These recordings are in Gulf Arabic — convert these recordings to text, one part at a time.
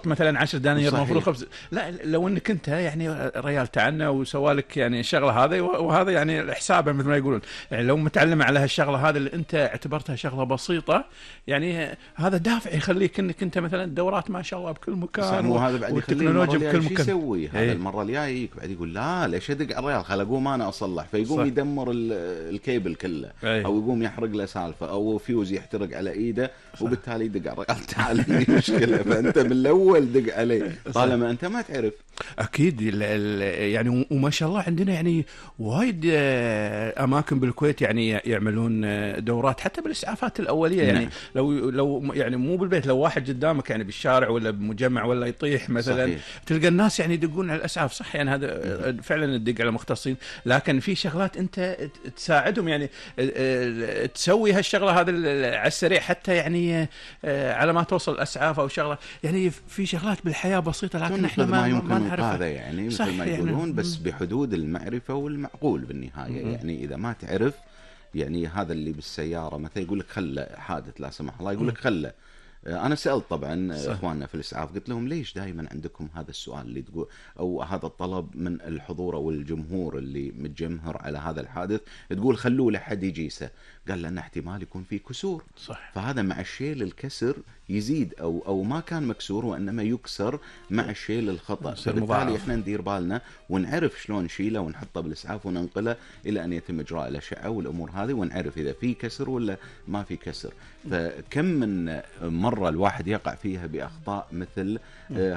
مثلا 10 دنانير صحيح. المفروض خبز. لا لو انك انت يعني ريال تعنا وسوالك يعني الشغله هذه، وهذا يعني حسابه مثل ما يقولون، يعني لو متعلم على هالشغله هذه اللي انت اعتبرتها شغله بسيطه، يعني هذا دافع يخليك انك انت مثلا دورات ما شاء الله بكل مكان، مو هذا بعد يخليه المرة والتكنولوجيا بكل الجاية شو مكان. يسوي هذا؟ ايه. المرة الجاية يجيك بعد يقول لا ليش ادق على الريال، خل اقوم انا اصلح، فيقوم صح. يدمر الكيبل كله، ايه. او يقوم يحرق له سالفة، او فيوز يحترق على ايده، وبالتالي يدق على الريال تعال عندي مشكلة. فانت من الاول دق عليه طالما انت ما تعرف. اكيد يعني وما شاء الله عندنا يعني وايد اماكن بالكويت يعني يعملون دورات حتى بالاسعافات الاوليه، يعني نعم. لو يعني مو بالبيت، لو واحد قدامك يعني بالشارع ولا بمجمع ولا يطيح مثلا، صحيح. تلقى الناس يعني يدقون على الاسعاف. صح يعني هذا فعلا تدق على مختصين، لكن في شغلات انت تساعدهم يعني تسوي هالشغله هذا على السريع، حتى يعني على ما توصل الاسعاف او شغله، يعني في شغلات بالحياه بسيطه لكن احنا ما يمكن نعرفها. هذا يعني مثل ما يعني يقولون، بس بحدود المعرفة والمعقول بالنهاية. يعني إذا ما تعرف، يعني هذا اللي بالسيارة مثلا يقول لك خله حادث لا سمح الله، يقول لك خله. أنا سألت طبعا إخواننا في الإسعاف، قلت لهم ليش دائما عندكم هذا السؤال اللي تقول أو هذا الطلب من الحضور أو الجمهور اللي متجمهر على هذا الحادث، تقول خلوه لحد يجيسه؟ قال لأن احتمال يكون فيه كسور. صح. فهذا مع الشيل الكسر يزيد أو ما كان مكسور وإنما يكسر مع الشيل الخطأ. فبالتالي إحنا ندير بالنا ونعرف شلون نشيله ونحطه بالإسعاف وننقله إلى أن يتم إجراء الأشعة والأمور هذه، ونعرف إذا في كسر ولا ما في كسر. فكم من مرة الواحد يقع فيها بأخطاء مثل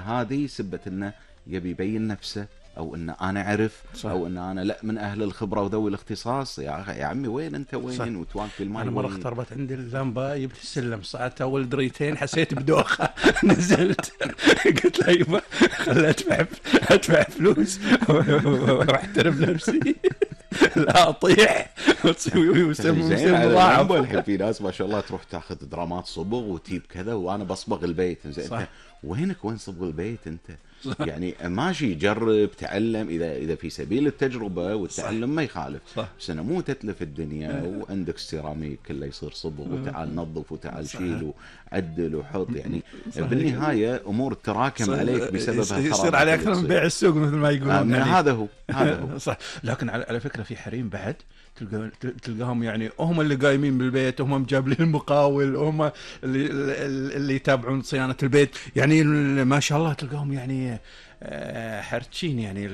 هذه سبة إنه يبي يبين نفسه، او ان انا اعرف، صح. او ان انا لا من اهل الخبره وذوي الاختصاص. يا عمي وين انت، وين وتواقف الماي؟ انا مره اختربت عندي اللمبه، جبت السلم صعدت اول دريتين حسيت بدوخه نزلت قلت له يبا خل ادفع فلوس واحترم نفسي لا اطيح وتسوي مضاعف. الحين في ناس ما شاء الله تروح تاخذ درامات صبغ وتجيب كذا، وانا بصبغ البيت. زين وينك وين صبغ البيت انت؟ يعني ماشي جرب تعلم اذا في سبيل التجربه والتعلم ما يخالف. بس انا مو تتلف الدنيا وعندك سيراميك كله يصير صبغ وتعال نظف وتعال شيل وعدل وحط. يعني بالنهايه امور تراكم عليك بسبب يصير عليك اكثر من بيع السوق مثل ما يقولون. يعني هذا هو صح. لكن على فكره في حريم بعد تلقاهم يعني هم اللي قايمين بالبيت، هم مجابلين المقاول، هم اللي يتابعون صيانة البيت، يعني ما شاء الله تلقاهم يعني حرتشين، يعني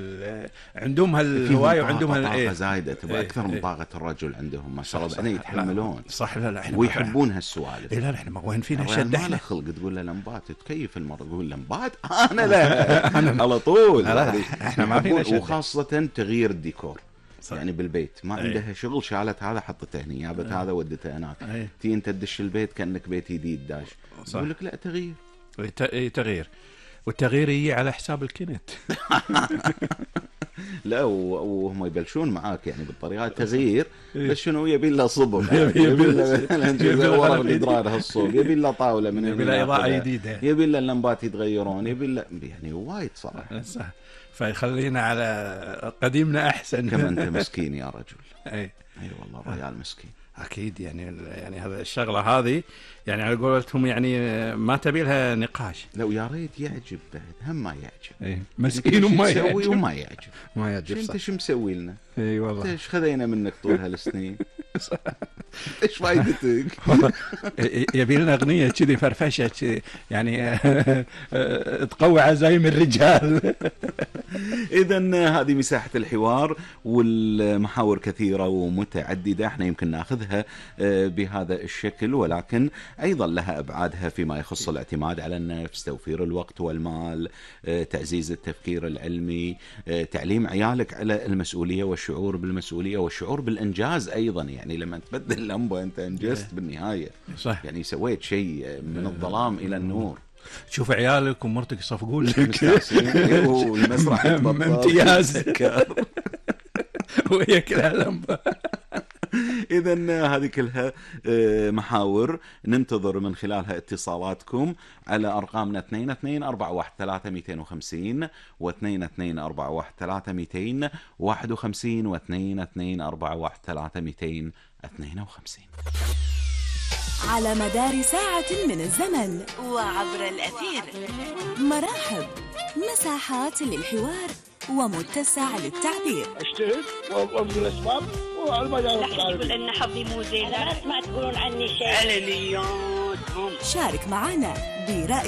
عندهم هالهواية وعندهم طاقة زايدة، تبقى أكثر من طاقة الرجل عندهم ما شاء الله، بعدين يتحملون. صح. لا احنا ويحبون هالسوالف. لا احنا ما وين فينا شد، احنا خلق تقول له لمبات تكيف المرة، تقول لمبات انا لا على طول. احنا ما فينا شد، وخاصة تغيير الديكور. يعني بالبيت ما عندها شغل، شالت هذا حطته هنا، جابت هذا ودته هناك. تي انت تدش البيت كأنك بيت جديد داش. يقول لك لا تغيير. تغيير، والتغيير يجي على حساب الكنت. لا وهم يبلشون معاك يعني بالطريقه تغيير، بس شنو يبي له صبغ، يبي له ورق الادرار هالصوب، يبي له طاوله من يبي له اضاءه جديده، يبي له اللمبات يتغيرون، يبي له يعني وايد صراحه. صح. فيخلينا على قديمنا احسن. كما انت مسكين يا رجل. اي والله ريال مسكين. اكيد يعني هذا الشغله هذه يعني على قولتهم يعني ما تبي لها نقاش. لو يا ريت يعجب بعد، هم ما يعجب. مسكين وما يسوي وما يعجب. ما يعجب. انت شو مسوي لنا؟ اي والله. انت ايش خذينا منك طول هالسنين؟ ايش فايدتك؟ يبي لنا اغنيه كذي فرفشه كذي يعني تقوي عزايم الرجال. اذا هذه مساحه الحوار، والمحاور كثيره ومتعدده، احنا يمكن ناخذها بهذا الشكل، ولكن ايضا لها ابعادها فيما يخص الاعتماد على النفس، توفير الوقت والمال، تعزيز التفكير العلمي، تعليم عيالك على المسؤوليه والشعور بالمسؤوليه والشعور بالانجاز ايضا. يعني لما تبدل اللمبه انت انجزت بالنهايه. صح. يعني سويت شيء من الظلام الى النور. تشوف عيالك ومرتك يصفقون لك والمسرح امتياز وهي كلها لمبه. إذن هذه كلها محاور ننتظر من خلالها اتصالاتكم على أرقامنا 22413250 و 22413251 و 22413252. على مدار ساعة من الزمن وعبر الأثير. مراحب، مساحات للحوار ومتسع للتعبير. اجتهد وابذل الاسباب وعلى ما جاء تقول ان حظي مو زين، ما تقولون عني شيء. علنياتهم. شارك معنا برأي